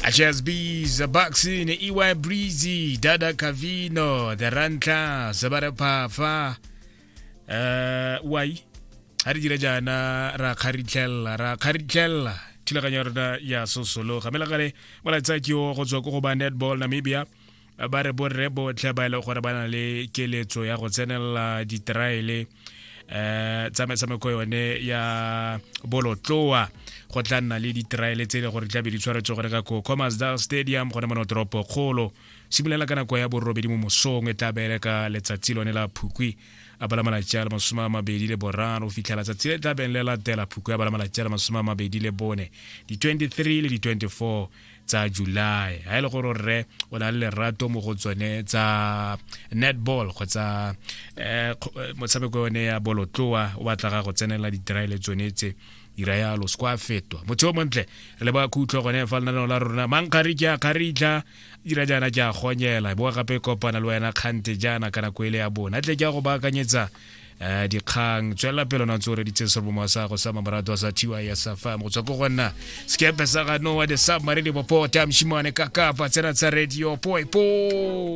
HSBs, Baxin, EY Breezy, Dada Cavino, The Rantla, Sebare Phafa, wai ga re dire jaana ra kgaritlhelela ra kgaritlhelela thulaganyo ya rona ya sosologa mme legale molaetsa ke o go tswa ko go ba netball Namibia. Ba re borre botlhe ba e leng gore ba na le keletso ya go tsenelela ditraele tsa metshameko yone ya bolotloa, go tla nna le ditraele tse e le gore di tla be di tshwaretswe gore ka ko Khomasdal Stadium gone mono toropo kgolo, simolola ka nako ya 8 mo mosong. E tla beele ka letsatsi lone la Phukwi a bala malatsi a le 23 fitlhela tsatsi le tla beng le latela, Phukwi a bala malatsi a le 24, di-23 le di-24 tsa July. Ha e le gore rre o na le lerato mo go tsone tsa netball kgotsa motshameko yone ya bolotloa, o batla ga go tsenela ditraele tsone tse, dira yalo, se kwa fetwa motho o montle. Re le ba khutlo gone fa lenaneo la rona mankgari ke a kgaritlha dira jaana ke a gonyela boa gape kopana le wena kgante jaana ka nako ele ya bona tle ke a go baakanyetsa dikgang. Tswelela pele ona ntse o reditse serobomo sa go sa mamorato sa TYS FM go tswa ko go nna sekepe sa ga Noah the Submarine Bopota moshimane ka kapa tsena tsa radio poe po.